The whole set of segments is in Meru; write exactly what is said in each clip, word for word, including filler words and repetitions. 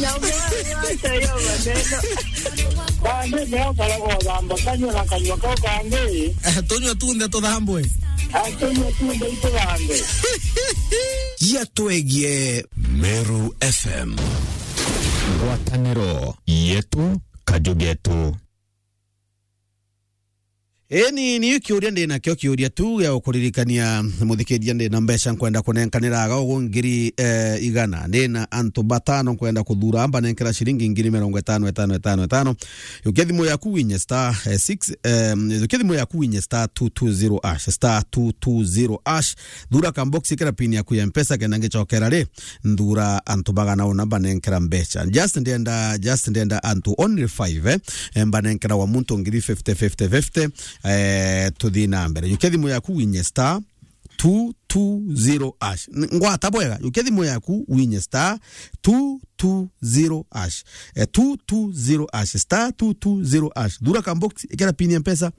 Acha hiyo maneno. Bande leo karago thamba kanywa na kanywa kau kangi. Eh, tunywe tunthe tuthambwe. Atunywe tunthe ituthambe. Gia twegie Meru F M. Ngwataniro yetu, kaju getu. Eni, ni kiuria ndi nakio, kiuria tu gia gukuririkania, muthikiria, ndi na mbeca nkwenda kunenkanira aga ugu ngiri, eh, igana. Ndi na antu batano nkwenda kuthura, mbanenkera ciringi ngiri mirongo itano, itano, itano, itano. Yukia thimu yaku winye star, eh, six, eh, yukia thimu yaku winye star two two zero hash, star two two zero hash. Thura ka box, ikira pin yaku ya Mpesa, kenda ngicokera ri, nthura antu bagana una mbanenkera mbeca. Just ndenda, just ndenda antu only five, eh, eh, mbanenkera wa muntu ngiri fifty, fifty, fifty, eh, tuthi na mbere. Yukia thimu yaku winye star two two zero hash. N-, ngwata bwega, yukia thimu yaku winye star two two zero hash. Eh, two two zero hash, star two two zero hash. Thura ka box, ikira pin ya Mpesa,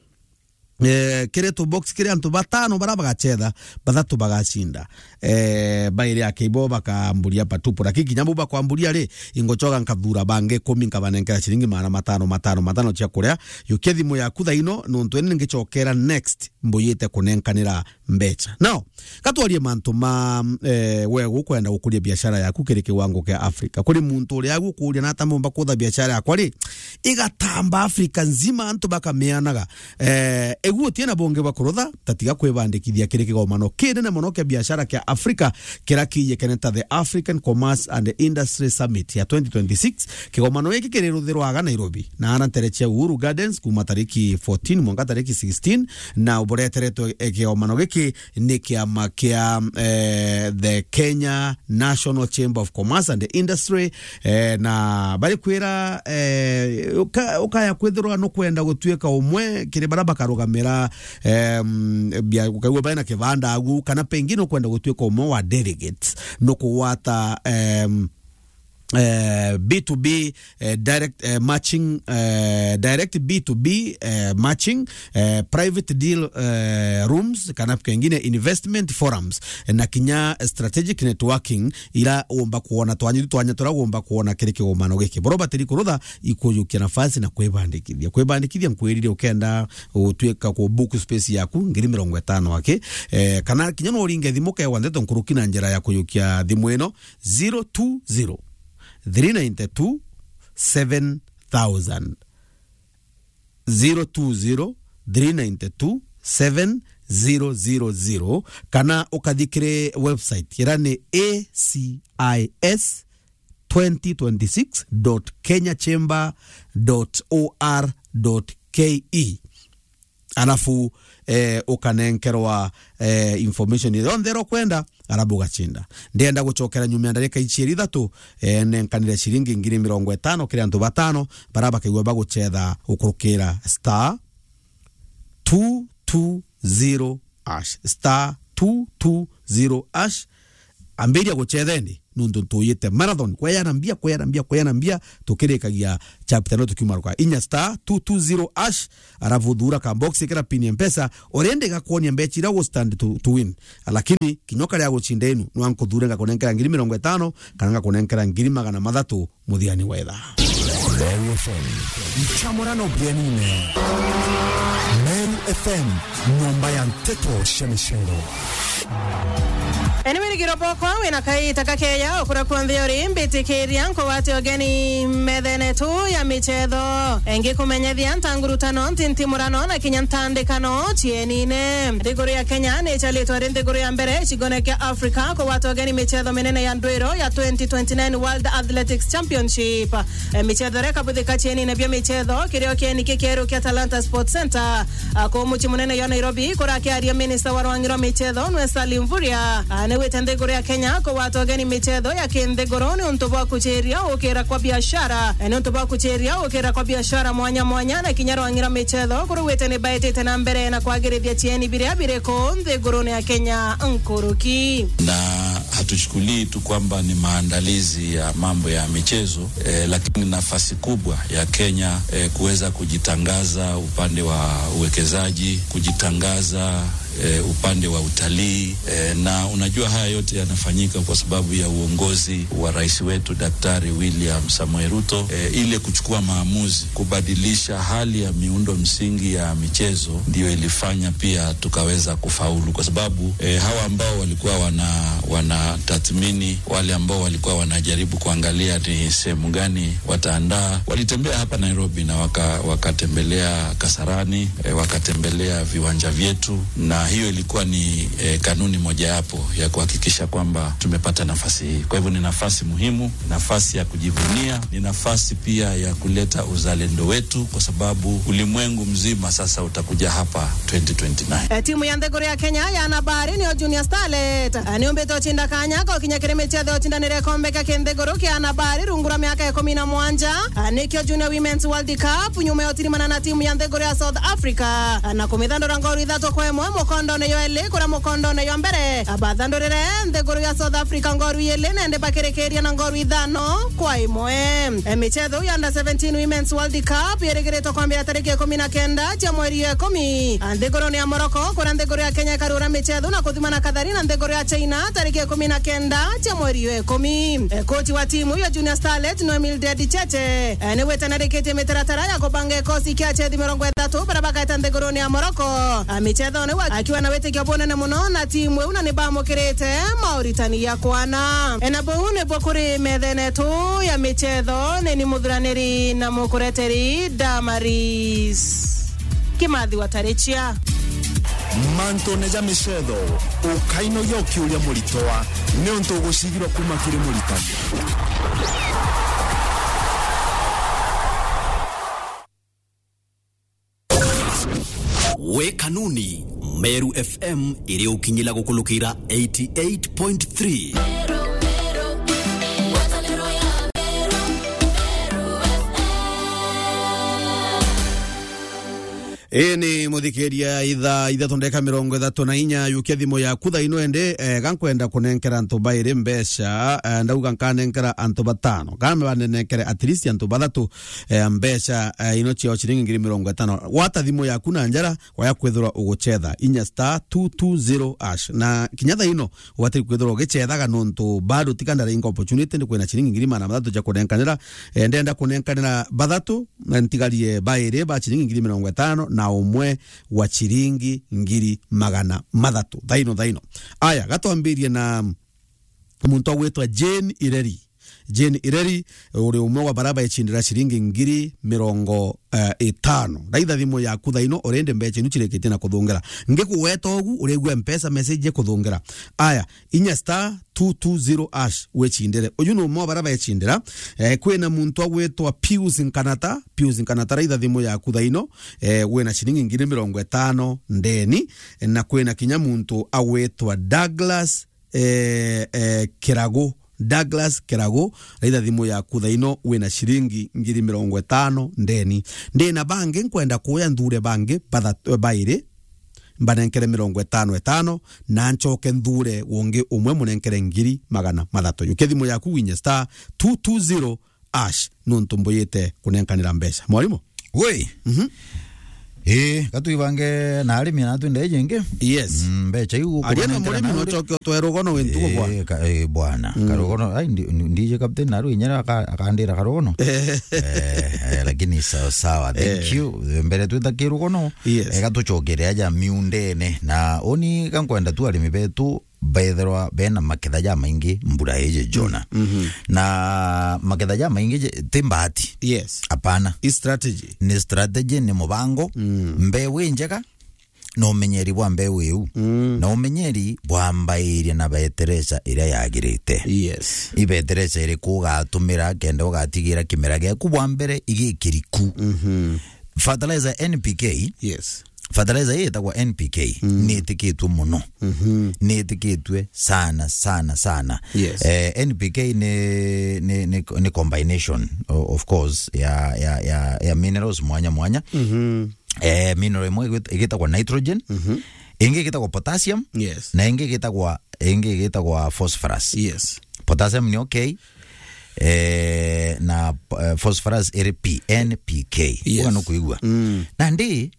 eh, kiri tu box kiri antu batano bara bagachetha, bathatu bagacinda. Eh, bairi ake ibo bakamburia patupu. Lakini kinya bu bakwamburia ri, ingochoga nkathura bangi ikumi nkabanenkera ciringi magana matano, matano, matano cia kuria. Yukia thimu yaku thaino, nontu eni ningicokera next mbuyite kunenkanira mbeca. Now, katwarie mantu ma, eh, we gukwenda gukuria biashara yaku kiri kiwango kia Africa. Kuri muntu uria agu ukuria na ata mumba kutha biashara yakwa ri, igatamba Africa nzima antu bakamianaga. Eh, egu utie na bungi bwa kurutha, tatiga kwibandikithia kiri kigomano kinene mono kia biashara kia Africa, kira kiijikene ta the African Commerce and Industry Summit ya twenty twenty-six. Kigomano giki kiri ruthirwaga Nairobi, na ara ntere cia Uhuru Gardens kuma tariki fourteen mwanka tariki sixteen, na ubureteretwe, eh, kigomano giki ni kiama kia, eh, the Kenya National Chamber of Commerce and Industry, eh, na bari kwira, eh, uka-, ukaya kwithirwa nukwenda gutuika umwe kiri bara bakarugamira, em, bia, ukaigua bari na kibanda agu, kana pengine ukwenda gutuika umwe wa delegates, nukugwata, em, eh, B two B, eh, direct, eh, matching, eh, direct B two B, eh, matching, eh, private deal, eh, rooms, kana pengine investment forums, eh, na kinya strategic networking, ira umba kuona twanya, twanya tura umba kuona kiri kigomano giki. Boro batiri kurutha, ikujukia nafasi na kwibandikithia. Kwibandikithia nkwirire ukenda utuika ku book space yaku ngiri mirongo itano aki, eh, kana kinya no uringe thimu kewa ndeto nkuruki na njira ya kujukia thimu ino, zero two zero, three nine two, seven thousand. Zero two zero, three nine two, seven zero zero zero, kana ukathi kiri website ira ni A C I S twenty twenty-six dot kenya chamber dot O R dot K E. Alafu, eh, ukanenkerwa, eh, information yonthe ira ukwenda, alafu ugacinda. Ndienda gucokera nyuma ya ndarika icieri ithatu, eh, nenkanire ciringi ngiri mirongo itano kiri antu batano bara bakaigua bagucetha ukurukira star two two zero hash, star two two zero hash. Ambiria gucetha indi, nuntu ntuyite marathon, kweyana mbia, kweyana mbia, kweyana mbia, tukirikagia chapter no tukiuma ruka. Inya star two two zero hash, alafu thura ka box, ikira pin ya Mpesa, already gakwonia mbecha ira u stand to, to win. Lakini, kinya ukaria gucinda inu, nwa nkuthure ngakunenkera ngiri mirongo itano, kana ngakunenkera ngiri magana mathatu, muthiani wa ithaa. Meru F M. Nchamurano bienine. Meru F M, nyomba ya nteto cia micero. Anyway, ni kiroboko, wina kaita kakeya, ukura kuonthe uri, mbitikiria, nkugwate ugeni methene tu ya michetho. Engikumenyethia ntangurutano, ntintimurano, na kinya ntandikano cienine. Nthiguru ya Kenya ni icharitwe ri nthiguru ya mbere, gicigone kia Africa, kugwata ugeni michetho minene ya ndwiro ya twenty twenty-nine World Athletics Championship. Eh, michetho iria ikabuthika cienine bia michetho, kirio kieni kikieru kia Talanta Sports Centre. Ah, kuu mucii munene jwa Nairobi, kurakiaria minista wa rwangi rwa michetho, nwe Salim Mvurya. Ah, ni gwite nthiguru ya Kenya kugwata ugeni michetho ya kinthiguru ni untu bwa kuchiria ukira kwa biashara. Eh, ni untu bwa kuchiria ukira kwa biashara mwanya mwanya, na kinya rwangi rwa michetho, kuri gwite ni baitite na mbere na kwagirithia cieni biria biri kuu nthigurune ya Kenya nkuruki. Na hatuchukulii tu kwamba ni maandalizi ya mambo ya michezo, eh, lakini nafasi kubwa ya Kenya, eh, kuweza kujitangaza upande wa uwekezaji, kujitangaza eh, upande wa utalii, eh, na unajua haya yote yanafanyika kwa sababu ya uongozi wa rais wetu Daktari William Samoei Ruto, eh, ile kuchukua maamuzi kubadilisha hali ya miundo msingi ya michezo ndio ilifanya pia tukaweza kufaulu, kwa sababu, eh, hawa ambao walikuwa wana-, wanatathmini wale ambao walikuwa wanajaribu kuangalia ni sehemu gani wataandaa, walitembea hapa Nairobi na waka-, wakatembelea Kasarani, eh, wakatembelea viwanja vyetu, na hiyo ilikuwa ni, eh, kanuni mojawapo ya kuhakikisha kwamba tumepata nafasi hii. Kwa hivyo ni nafasi muhimu, nafasi ya kujivunia, ni nafasi pia ya kuleta uzalendo wetu, kwa sababu ulimwengu mzima sasa utakuja hapa twenty twenty-nine. Eh, timu ya nthiguru ya Kenya ya anabari niyo Junior Starlet, eh, niumbite ucinda kanya ko kinya kiri michetho ya ucindanire ikombe kia kinthiguru kia anabari rungu rwa miaka ikumi na mwanja, eh, nikio Junior Women's World Cup, nyuma ya utirimana na timu ya nthiguru ya South Africa, eh, na kumithandura ngoru ithatu kwa imwe mukondone yo eli, kuria mukondone yo mbere, eh, bathandurire nthiguru ya South Africa ngoru ili, na indi bakirikiria na ngoru ithano kwa imwe. Eh, michetho ya under seventeen Women's World Cup irigiritwe kwambira tariki ikumi na kenda cia mweri ya ikumi, a, nthigurune ya Morocco, kuria nthiguru ya Kenya ikarura michetho na kuthimana kathari na nthiguru ya China tariki ikumi na kenda cia mweri ya ikumi. E, kochi wa timu ya Junior Starlet, no Mildred Cheche, e, ni gwitanarikitie mitaratara ya kubanga ikosi kia achethi mirongo ithatu baria bagaeta nthigurune ya Morocco, a, michethone, akiwa na witikio bunene muno na timu iu, na ni bamukirite mauritani ya kwana. E, na buu nibuo kuri methene yetu ya michetho, ni ni muthuraniri na mukureteri Damaris Kimathi wa Tarichia. Mantune ja michetho, ukainogia ukiuria muritwa, niuntu ugucigirwa kuma kiri muritani. We Kanuni, Meru F M iri ukinyila gukulukira eighty eight point three. Ii ni muthikiria, ithaa ithatu ndeka mirongo ithatu na inya, yukia thimu yaku thaa ino ende, eh, ga nkwenda kunenkera antu bairi mbeca, eh, ndauga nkanenkera antu batano. Ga mbanenekere at least antu bathatu, eh, mbeca, eh, ino ciao ciringi ngiri mirongo itano. Gwata thimu yaku na njara, waya kwithirwa uguchetha inya star two two zero hash. Na kinya thaa ino, ubati kwithirwa ugichethaga nontu bado tiga ndaringa opportunity, ndi kwina ciringi ngiri magana mathatu cia kunenkanira. Eh, ndenda kunenkanira bathatu, na ntigarie bairi ba ciringi ngiri mirongo itano na umwe wa ciringi ngiri magana mathatu. Thaa ino, thaa ino. Aya, ga twambirie na muntu agwitwa Jane Ireri. Jane Ireri, uri umwe wa baria baecindira ciringi ngiri mirongo, eh, itano. Raitha thimu yaku thaa ino, urindi mbeca inu cirikitie na kuthungira. Ngikugweta ugu, urigua Mpesa message ikuthungira. Aya, inya star two two zero hash, wicindire. Uyu ni umwe wa baria baecindira. Eh, kwina muntu agwitwa Pius Nkanata. Pius Nkanata, raitha thimu yaku thaa ino, eh, wina ciringi ngiri mirongo itano ndeni. Na kwina kinya muntu agwitwa Douglas eh, eh, Kiragu, Douglas Kiragu, raitha thimu yaku thaa ino, wina ciringi ngiri mirongo itano ndeni. Ndina bangi nkwenda kuya nthure bangi batha-, bairi, mbanenkere mirongo itano itano, na ncoke nthure ungi umwe munenkere ngiri magana mathatu. Yukia thimu yaku winye star two two zero hash, nontu mbuyite kunenkanira mbeca. Mwarimu? Woi. Mhm. Ii, gatuibange na arimi na twende jingi. Yes. Mm, mbeca iu aria na kunenkera murimi na no uri- choke utwe rugono wi ntugo bwana. Ii, ka-, ii, bwana. Mm. Karugono, ai, ndi-, ndi-, ndije captain na rwinyera aka-, akandira karugono. Eh, eh, lakini sawa sawa. Thank you. Mbere twita kirugono. Yes. Ega tuchokere aja miundene. Na uni ga nkwenda tu arimi betu bethirwa bena maketha jamaingi mbura iji Jona. Mhm. Na maketha jamaingi je-, ti mbahati. Yes. Hapana. I strategy. Ni strategy, ni mubango. Mm. Mbeu injega, na umenyeri bwa mbeu iu. Mm. Na umenyeri bwambairie na betereca iria yagirite. Yes. I betereca iriku ugatumira kenda ugatigira kimera giaku bwa mbere igikiriku? Mhm. Fertilizer N P K. Yes. Fertilizer ii itagwa N P K, mm, ni itikitwe muno. Mhm. Ni itikitwe sana, sana, sana. Yes. Eh, N P K ni, ni, ni, ni combination, o-, of course, ya, ya, ya, ya minerals mwanya mwanya. Mhm. Eh, mineral imwe igwit-, igitagwa nitrogen, mhm, ingi igitagwa potassium, yes, na ingi igitagwa, ingi igitagwa phosphorus. Yes. Potassium ni okay, eh, na, eh, phosphorus iri P, N P K. Yes. Uga no kuigua. Mm. Na ndi,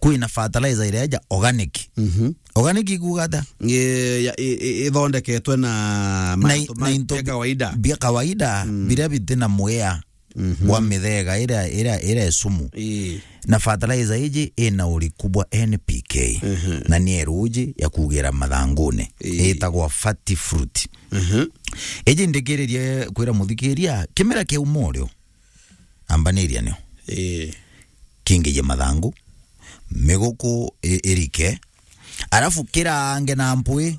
Kwina fertilizer iria ja organic. Mhm. Organic ikuuga ata? Ngi-, ya, i-, i-, ithondeketwe na Na i-, mantu na ma-, into bia bi-, kawaida. Bia kawaida, Mm. biria bitina mwea Mhm. bwa mithega iria, iria, iria e sumu. Ii. Na fertilizer iji ina uriku bwa N P K. Mhm. Na ni eruji ya kugira mathangune. Ii. Itagwa fat fruit. Mhm. Iji ndikiririe kwira muthikiria, kimera kiauma urio, ambaniria nio. Ii. Kingije mathangu, miguku i-, irike, arafu kirange na mpwi,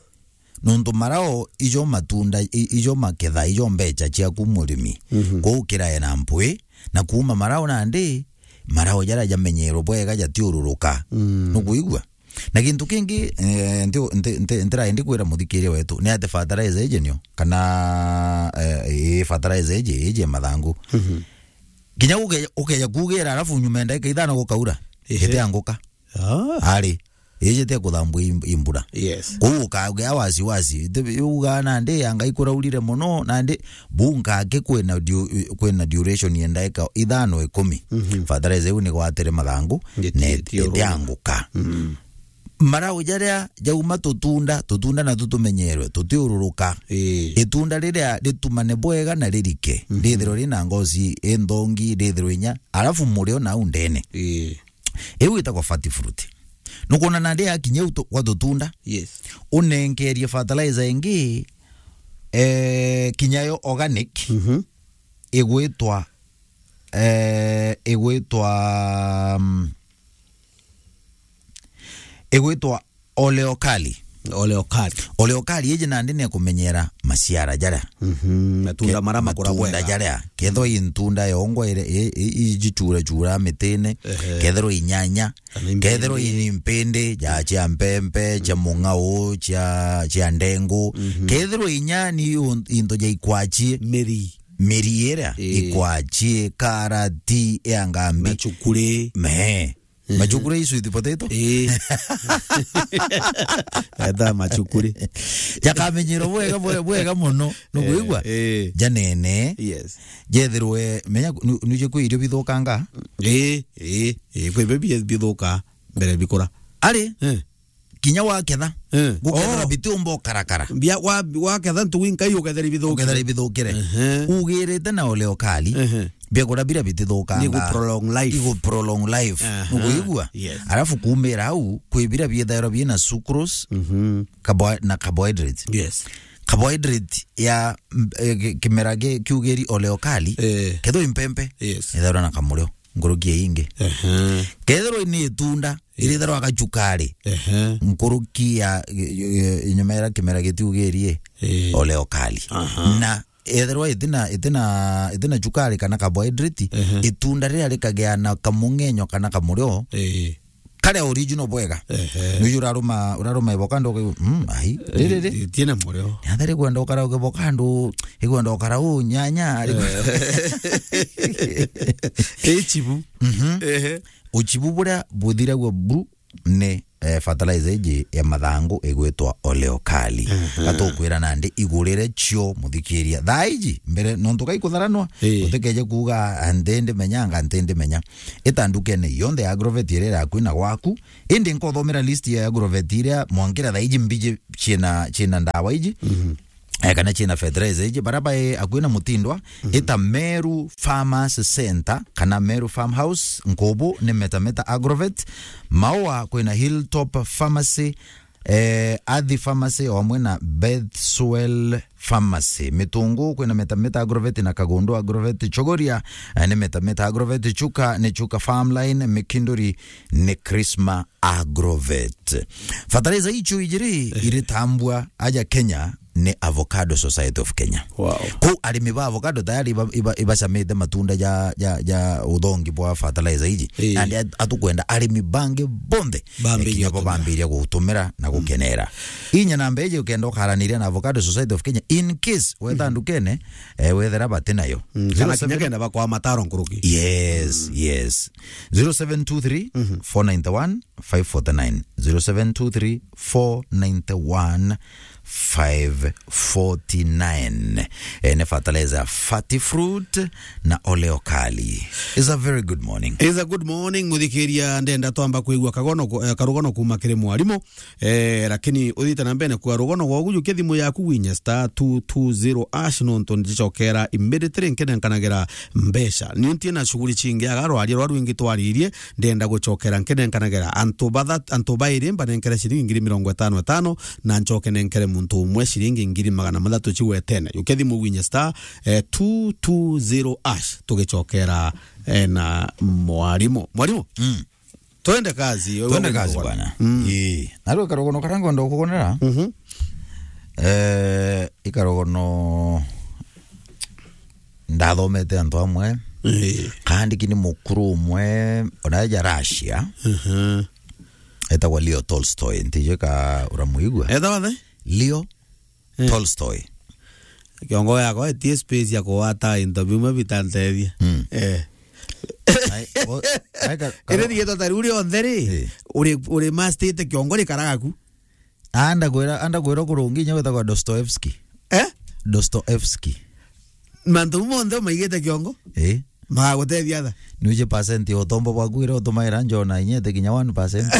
nontu marao ijo matunda, i-, ijo maketha, ijo mbecha ciaku murimi. Mhm. Kwou kirae na mpwi, na kuuma marao nandi, marao jaria jamenyerwe bwega jatiururuka. Mm. Nukuigua? Na gintu kingi, eh, nti-, nti-, nti-, ntiraendi kwira muthikiria wetu, ni ati fertilizer iji nio, kana, eh, ii fertilizer iji, iji ya mathangu. Mhm. Kinya uke-, ukeja kugira, arafu nyuma ya ndagika ithano gukaura, Ehe. itianguka. Ah. Ari, iji tia kuthambua i-, i mbura. Yes. Kwou ukagea wasiwasi. Iti-, uga nandi anga ikuraurire mono, nandi bu nkake kwina du-, kwina duration ya ndagika ithano ikumi. Mhm. Fertilizer iu ni gwatire mathangu, Giti-, na iti-, gitiururuka. Itianguka. Mm. Marau jaria jauma tutunda, tutunda natu tumenyerwe, tutiururuka. Ii. Itunda riria ritumane bwega na ririke, Mhm. rithirwe rina ngozi inthongi, rithirwe inya, arafu murio nau ndene. Ii. Iu itagwa fat fruit. Nukwona nandi yakinya u tu-, gwa tutunda, Yes. unenkerie fertilizer ingi, eh, kinya yo organic, Mhm. igwitwa, eh, igwitwa, mm, igwitwa oleokali. Oleokali. Oleokali iji nandi ni kumenyera maciara jaria. Mhm. Matunda Ke-, maria makura matunda bwega. Jaria. Kethirwa i ntunda yongwa ire, i, i, ijichura chura mitine. Ehe. Kethirwa inyanya. Kana impindi. Kethirwa i mpindi, ja, cia mpempe, cia mung'au, cia, cia ndengu. Mhm. Kethirwa inya ni un-, into ja ikwachie. Miri. Miri iria, Ii. ikwachie, karati, ya ngambi. Machukuri. Me. Mhm. Machukuri i sweet potato? Ii. Eta machukuri. Jakamenyerwo bwega, bwe-, bwega mono. Nukwigua? Eh, eh. Janene. Yes. Jethirwe, menya, nu-, nuje kwi irio bithukanga? Ii, ii, ii, kwi irio bi-, bithuka mbere bikura. Ari? Eh. Kinya waketha. Eh. Gukethera Oh. bitiumba ukarakara. Bia-, wa-, waketha ntugu inkai ukethera ibithukire. Ukethera ibithukire. Ehe. Ugirite na oleokali. Ehe. Biakura biria bitithukangaa. Ni gu prolong life. Igu prolong life. Aha. Nukuigua? Yes. Arafu kuumira au, kwi biria biethairwa biina sucrose, Mhm. carbo-, na carbohydrates. Yes. Carbohydrate ya, mm, eh, ki-, kimera ki-, kiugiri oleokali, Eh. kethirwa i mpempe, Yes. ethairwa na kamurio, nkuruki ya ingi. Aha. Kethirwa ni itunda, Yes. irithairwa gachukari, Aha. nkuruki ya, eh, eh, nyuma ira kimera gitiugirie, Eh. oleokali. Aha. Na ethirwa itina, itina, itina chukari kana carbohydrate, Ehe. itunda riria rikagia na kamung'enyo kana kamurio, Ii. karia original bwega. Ehe. Nuju uraruma, uraruma avocado ukiu, mm, ai, riri ri. Itiena murio. Ni athari kwenda ukara avocado, ikwenda ukara u nyanya, ari Eh. Ichibu. Mhm. Ehe. Uchibu buria buthiragua buru ni, eh, fertilizer iji ya mathangu igwitwa oleokali. Aha. Gatukwira nandi igurire cio muthikiria. Thaa iji, mbere nontu gaikutharanwa, Ii. utikeje kuuga, "Ah, nti ndimenyanga, nti ndimenya." Ita ndukene yonthe ya Agrovet iria iri akui na gwaku. Indi nkothomera list ya Agrovet iria mwankira thaa iji mbiji ciina, ciina ndawa iji. Mhm. Eh, kana ciina fertilizer iji, bara bae akui na Mutindwa, Mhm. ita Meru Farmers Center, kana Meru Farmhouse, Nkubu ni Meta Meta Agrovet, Maua kwina Hilltop Pharmacy, eh, Athi Pharmacy, o amwe na Bethswell Pharmacy. Mitungu kwina Meta Meta Agrovet na Kagundu Agrovet, Chogoria, eh, ni Meta Meta Agrovet, Chuka ni Chuka Farmline, Mikinduri ni Krisma Agrovet. Fertilizer icio ijiri Eh. iritambua aja Kenya ni Avocado Society of Kenya. Wow. Ku arimi ba avocado tayari iba, iba, ibacamite matunda ja, ja, ja uthongi bwa fertilizer iji. Eh. Nandi at-, atukwenda arimi bangi bonthe, Bambirie eh, kinya bo gutumira. Bambirie gutumira na Mm. gukenera. Inya namba iji ukenda ukaraniria na Avocado Society of Kenya in case wetha Mm. ndukene, eh, wethera bati nayo. Mm, kana Zero seven kinya kenda bakwa mataro nkuruki. Yes, Mm. yes. Zero seven two three, Mhm. four nine one, five forty nine, zero seven two three, four nine one, five forty-nine. Eh, ni fertilizer ya Fertifruit na Oleo Kali. It's a very good morning. It's a good morning, muthikiria, ndenda twamba kwigua kagono ku-, eh, karugono kuma kiri mwarimu. Eh, lakini uthite na mbere kwa rugono gwaku, jukia thimu yaku winye star two two zero hash, nontu ndicokera immediately nkenenkanagira mbeca. Ni ntie na shughuli cingi aga rwaria rwa rwingi twaririe, ndenda gucokera nkenenkanagira antu bathat-, antu bairi mbanenkere ciringi ngiri mirongo itano itano, na ncoke nenkere muntu umwe ciringi ngiri magana mathatu cigwetene. Jukia thimu winye star, eh, two two zero hash, tugicokera, eh, na mwarimu. Mwarimu? Mm. Twende kazi, wewe. Twende kazi, bwana. Mm. Ii. Na rwä karogono karä a ngwenda kugonera. Mhm. Eh, ikarogono ndathomete antu amwe. Ii. Kaandiki ni mukuru umwe, ona eja Russia. Mhm. Etagwa Leo Tolstoy, ntijue ka uramwigua. Etagwa the? Leo Eh. Tolstoy. Kiongo yakwa etie space ya kuwata into bimwe bitantethia. Mm. Eh. Ai, o, ai, ka, ka, iri thietwa tari uri onthe ri, eh, uri, uri mastite kiongo ri karagaku. Anda kwira, anda kwira kurungi nya wetagwa Dostoevsky. Eh? Dostoevsky. Mantu monthe maigite kiongo? Eh. Magagutethia atha? Nuje percent ya utombo bwaku iria utumaira njona inyete kinya one percent.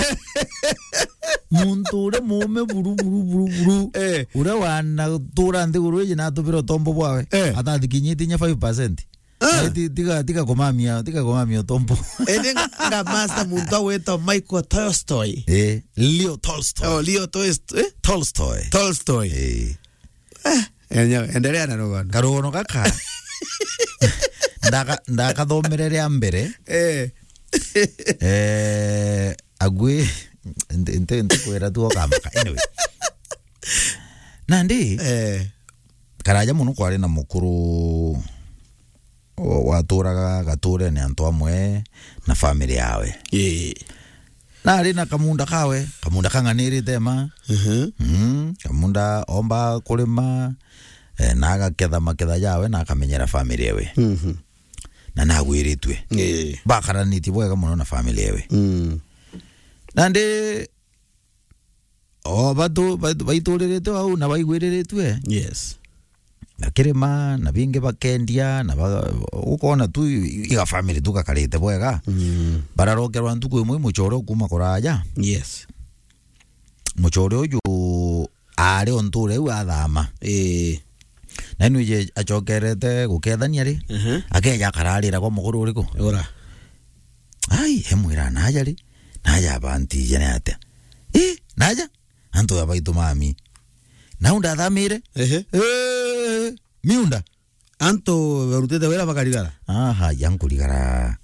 Muntu uria muume buru, buru, buru, buru. Eh. Uria wanatura nthiguru iji na atubira utombo bwawe. Eh. Atathikinyitie inya five percent. Ah. Eh, ti-, tiga, tiga kumamia, tiga kumamia utombo. Indi nga master muntu agwitwa Michael Tolstoy. Eh, Leo Tolstoy. Oh, Leo Tolst-, eh? Tolstoy. Tolstoy. Eh. Eh, endelea na rugano. Karugono gaka. Ndaka-, ndakathomere ria mbere. Eh. Eh, agwi, nti-, nti-, ntikwira tu okamaka. Anyway. Nandi, eh, karaja muno kwari na mukuru wa-, waturaga gaturene antu amwe na family yawe. Ii. Na ari na kamunda kawe, kamunda kang'anirite ma. Mhm. Mm, kamunda omba kurima, eh, na agaketha maketha jawe na akamenyera family ewe. Mhm. Na nagwiritue. Ii. Bakaranitie bwega muno na family ewe. Mm. Nandi, o, batu-, batu-, baituririte au na baigwiriritue. Yes. Bakirima, na bingi bakendia, na ba-, ukona tu i-, iga family tu gakarite bwega. Mm. Bararokerwa ntuku imwe i mucore kuma kuraja. Yes. Mucore uju aari o ntuura iu athama. Ii. Na inwije acokerete gukethania ri, aha, akeja akararira kwa mukuru uriku? Ura. Ai, emwira, "Naja ri? Naja abantije ni atia?" "Ii, naja? Antu ya baitu mami. Nau ndathamire?" Ehe. "Ee, miunda." Antu barutite wira bakarigara? Aha, ya nkurigara.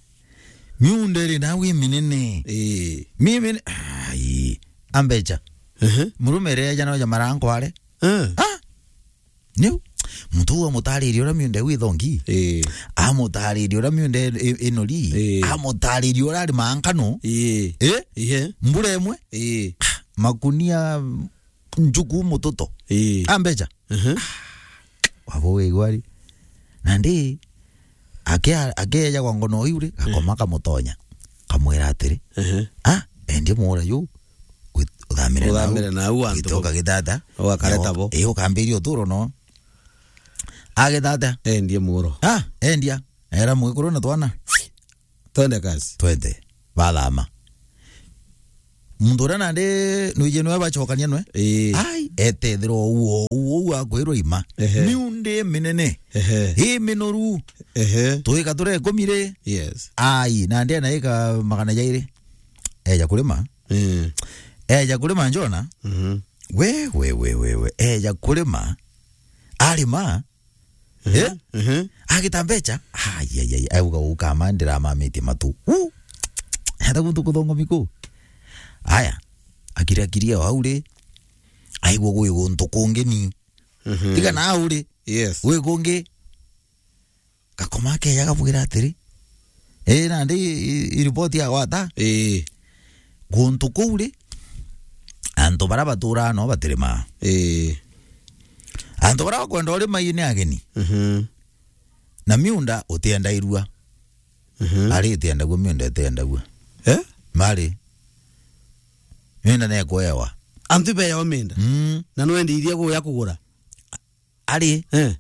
Miunda iri nau iminene. Ii. Mimine-, ai, ambecha. Ehe. Murume ere eja noja marankware. Eh. Ah! Niu, muntu uu amutaririe uria miunda iu ithongi. Ii. Amutaririe uria miunda i-, i-, inori. Ii. Amutaririe uria arimaa nkano. Ii. Ii? Ihe. Mbura imwe. Ii. Ah, makunia njuku mututo. Ii. Ambecha. Aha. Wabo wigwari. Nandi, akia-, akeja kwa ngono iu ri, gakoma, eh, kamutonya. Kamwira atiri, ehe, "Ah, endia muura yu, wit-, uthamire nau. Uthamire nau antu. Wite bo. Ukagitata. Ugakare ta bo. Ii, ukambiria uturo no." Agitata. Endie muuro. "Ah, endia." Era mwikuru na twana. Twende kazi. Twende. Bathama. Muntu uria nandi nwiji nwe bacokania nwe? Ii. Ai, etethirwa uu, uu, uu akwirwa ima. Ehe. Miundi minene. Ehe. Ii minoru. Ehe. Tuika turia ikumi ri? Yes. Ai, nandi anaika magana jairi. Eja kurima. Mm. Eja kurima njona. Mhm. We, we, we, we, we. Eja kurima. Arima. Mhm. Eh? Mhm. Agita mbecha? Ai, ai, ai, auga uu kama ndiramamitie matu. Uu! Hata guntu kuthongomi kuu. Aya, akiri, akiri o au ri, aigua gwi guntu kungi ni. Mhm. Tiga na au ri. Yes. Gwi kungi. Gakoma keja gabwira atiri, "Ii, nandi i, i, i report ya gwata?" Ii. Guntu kuu ri, antu baria baturaa no batirimaa. Ii. Antu baria bakwenda urima ii ni ageni. Mhm. Na miunda utiendairua. Mhm. Ari itiendagua, miunda itiendagua. Eh? Mari. Miunda nekwewa. Antu ibeejawa miunda. Mm. Na nwendi iria kuya kugura. Ari. Eh.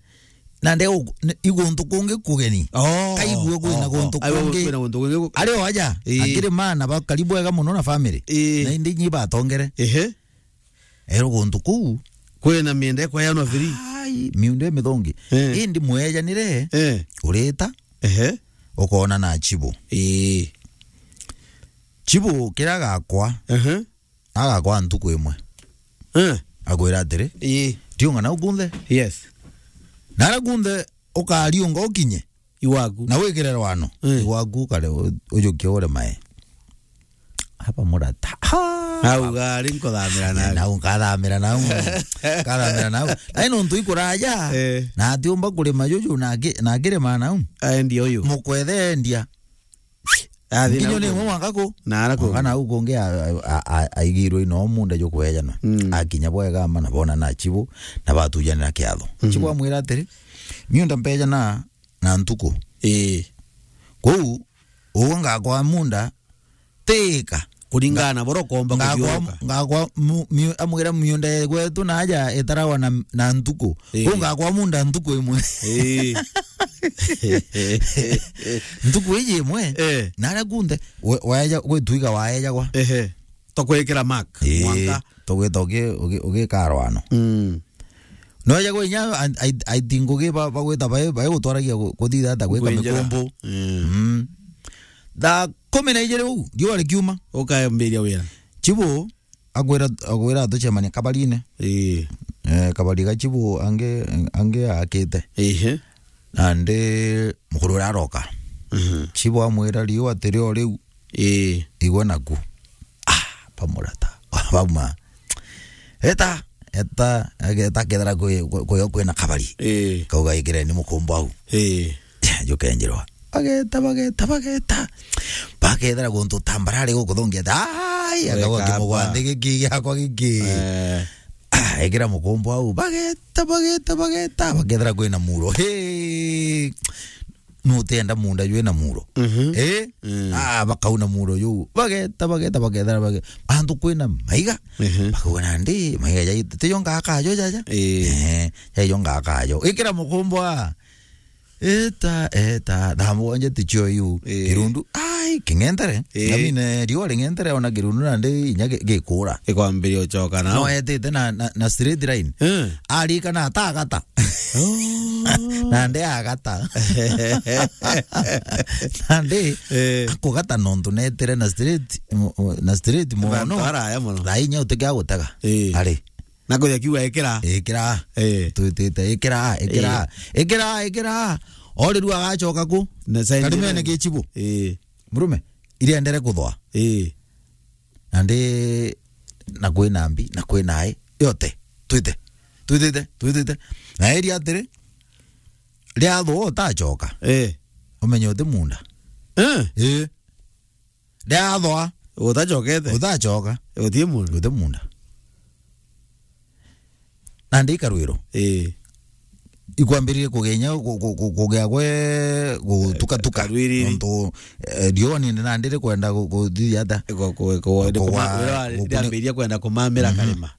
Na nde u-, ni, i guntu kungi kugeni. Oh, kaigua kwina oh, guntu oh. Aiwa kungi. Kwina guntu kungi gu- Ari o aja, ii, akiri maana ba karibu wega muno na family. Ii. Na indi nyi batongere. Ehe. Ero guntu kuu. Kwina miunda ikweanwa free. Ai, miunda mithongi. Eh. Indi mwejanire, eh, urita, ehe, ukona na chibu. Ii. Chibu kira gakwa. Ehe. Agakwa ntuku imwe. Eh. Akwira atiri, ii, riunga nau kunthe. Yes. Nara kunthe ukariunga ukinye. Iwaku. Na wikire rwano. Eh. Iwaku kare u-, ujukie ure mae. Hapa murata. Ha! Au gari nkuthamira nau. Nau nkathamira nau. Nkathamira nau. Ai nontu ikuraja. Eh. Na atiumba kurima juju na aki-, na akirima nau. Aendia uyu. Mukwethendia. Athi nginyo na ni uku. Mwe mwaka ku? Na ara ku. Mwaka na uku ngi a-, a-, a-, aigirwe ino munda jukwejanwa. Mm. Akinya bwega ama na bona na chibu, na batujanira kiatho. Mhm. Chibu amwira atiri, "Miunda mpeja na, na ntuku." Ii. Kou, ugo ngakwa munda, tika. Kuringana na boro komba ngakwa, kuthiuruka. Ngakwa mu-, miu-, amwira miunda gwetu na aja itarawa na, na ntuku. Ii. Kou ngakwa munda ntuku imwe. Ii. Ntuku iji imwe, eh, naria kunthe, we-, waeja-, gwituiga waejagwa. Ehe. Tokwikira mark, ii, mwanka. Tugwita ugi-, ugi-, ugikarwano. Mm. Noeja gwe inya, I, I, I think ugi ba-, bagwita bai, bai gutwaragia gu-, kuthitha ata gwika mikumbu. Mm. Mm. Thaa kumi na ijiri uu, riua rikiuma. Ukayambiria wira. Chibu, akwira, akwira tucemanie kabarine. Ii. Eh, kabari ga chibu angi, angi akite. Ehe. Nandi mukuru uria aroka. Mhm. Chibu amwira, "Riua tirio riu." Ii. Igwe naku. Ah, bamurata. Bauma. Eta, eta, eta kethira kwi, kwi, kwi, kwina kabari. Ii. Kauga, "Ikireni mukumbu au." Ii. Jukenjirwa. Bageta, bageta, bageta. Bakethira guntu tambarare gukuthungia ati, "Ai, akagwa kimugwa nthi giki giakwa giki." Eh. Ah, ekira mukumbu au. Bageta, bageta, bageta. Bakethira kwina muro. Hey! Nutienda munda jwina muro. Mhm. Eh? Mm. Ah, bakauna muro juu. Bageta, bageta, bageta, bageta. Antu kwina maiga. Mhm. Bakauga nandi, maiga jai, tijo ngaka jo jaja. Eh. Eh, jaijo ngaka jo. Ikira mukumbu a. Eta, eta, thaa mugwanja tichio iu. Eh. Kirundu, ai, king'entere. Eh. Ngamine, riua ring'entere, ona kirundu nandi inya gi-, gikura. Ikwambiria uchoka nao. No etite na, na, na straight line. Eh. Arika na atagata. Oh. Nandi agata. Nandi, eh, akugata nontu netire na straight, mo-, mo-, na straight mono. Bantu araya mono. Thaa inya utikia gutega. Eh. Ari. Na kuja kiuga, "Ikira." Ikira. Eh. Twitite, "Ikira, ikira, eh, ikira, ikira." Oriru agachoka ku? Na sign karimene line. Gichibu. Eh. Murume, iriendere kuthwa. Eh. Nandi na kwina mbi, na kwina ai, yote. Twite. Twitite, twitite. Na eri atiri, riathwa utachoka. Eh. Umenye uti munda. Eh. Eh. Riathwa. Utachokete? Utachoka. Uti munda. Uti munda. Nandi ikarwiro. Eh. Ikwambiririe kugenya ku-, ku-, ku-, kugea gwe gutukatuka. Karwiri. Nontu, eh, riua nindi nandi rikwenda gu-, guthithia ata? Ku-, ku-, ku-, kugwa, kuma-, riua kugwa, riambiririe kwenda kumamira, mhm, karima.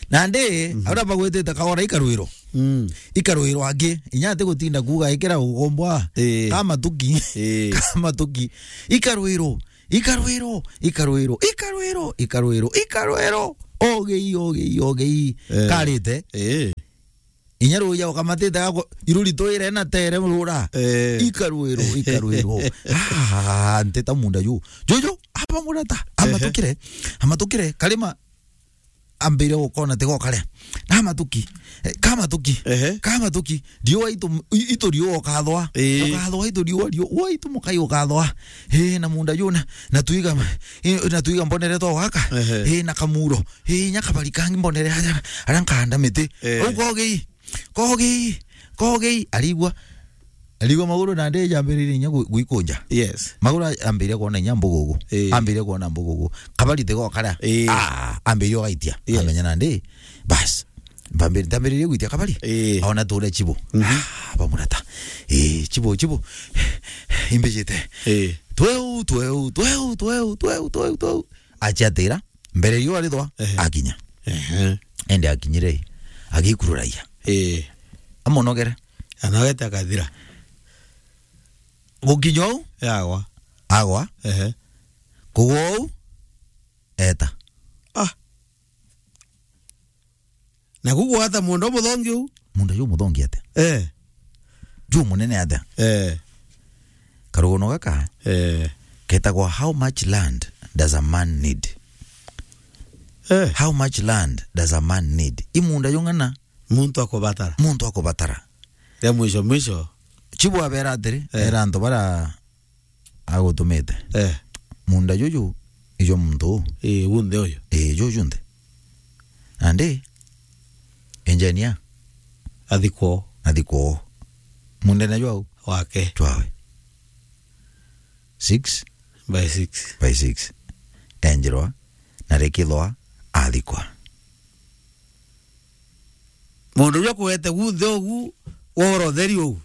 Nandi, mhm, aria bagwitite kagora ikarwiro. Mm. Ikarwiro angi, inya ati gutinda kuuga ikira ugombwa. Ii. Kamatuki. Ii. Kamatuki. Ikarwiro, ikarwiro, ikarwiro, ikarwiro, ikarwiro, ikarwiro. Ogei, ogei, ogei. Eh. Karite. Ii. Inya ruya ukamatite gako, iruri twire na tere rura. Eh. Ikarwiro, ikarwiro. Ah, nteta munda yu. Juju, aba murata, ehe, amatukire, amatukire, karima, ambire gukona tiga ukaria. Na matuki, eh, ka matuki, ehe, ka matuki, riua itu, i-, itu riua ukathwa. Ii. Ukathwa itu riua, riua, ua itu mukai ukathwa. Ii, na munda juna, na tuiga, ii, na tuiga mbonere twa gwaka. Ehe. Ii, na kamuro. Ii, nya kabari kangi mbonere aria, aria nkahanda miti. Eh. Au kogei, kogei, kogei, arigwa. Arigwa maguru nandi jambiririe inya gwi-, gwikunja. Yes. Maguru a-, ambiririe kuona inya mbugugu. Ii. Ambiririe kuona mbugugu. Kabari tiga ukaria. Ii. Ah, ambiririe ugaitia. Yes. Amenya nandi, bas. Mbambiri-, ndambiririe gwitia kabari. Ii. Aona ture chibo. Mhm. Ah, bamurata. Ii, chibo, chibo. Imbijite. Ii. Tweu, tweu, tweu. Achiatira. Mbere riua rithwa, ehe, akinya. Ehe. Ende akinyire, agikururagia. Eh. Amonogere. Anogete akathira. Gukinya uu, yagwa. Agwa. Ehe. Kugwa uu, eta. Ah. Na kugwata mundu muthongi uu? Mundu ju muthongi atia? Eh. Ju munene atia? Eh. Karugono gaka, eh, ketagwa How Much Land Does a Man Need? Eh. How much land does a man need? I munda jung'ana? Muntu akubatara. Muntu akubatara. Ya mwisho mwisho. Chibu abera atiri, eh, era antu bara agutumite. Eh. Munda juju ijo muntu uu. Ii, unthe uyu. Ii, juju nthe. Nandi, engineer. Athikwo. Athikwo. Mundene jwau? Wake. Jwawe. Six? By six. By six. Enjirwa, na rikithwa, athikwa. Mundu uria kuete gunthe ugu, woro theri ugu.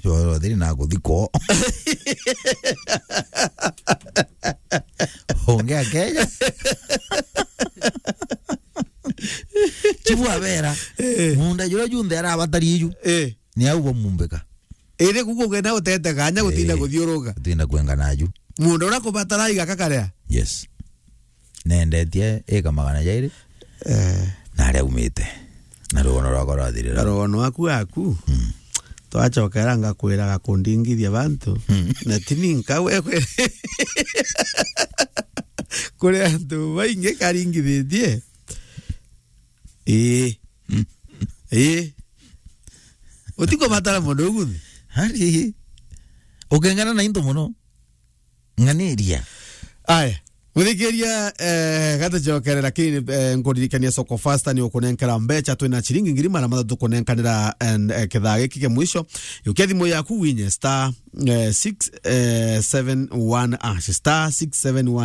Woro theri na kuthikwo. Ungi akeja. Chibu abera, eh, munda juria junthe arabatari iju, eh, ni au bamumbika. Iri kuku ugenda utete kanya gutinda, eh, kuthiuruka. Gutinda kwenga naju. Mundu uria kubatara igaka karia. Yes. Nendetie ika magana jairi. Eh. Na aria aumite. Na rugono rwakwa rwathirira. Na rugono waku aku. Mm. Twachokera ngakwira gakundingithia bantu. Mm. Na tini nkawe kwe-, kuri antu baingi karingithitie. Ii. Mm. Ii. Utikubatara mundu uguthi. Hari. Ukengana na into muno. Ng'aniria. Aya. Muthikiria, eh, gatucokere, lakini, eh, nkuririkania Soko Fasta ni ukunenkera mbecha, twina chiringi ngiri magana mathatu kunenkanira, and, eh, kithaa giki kia mwisho. Yukia thimu yaku winye star, eh, six, eh, seven one hash, star six seven one.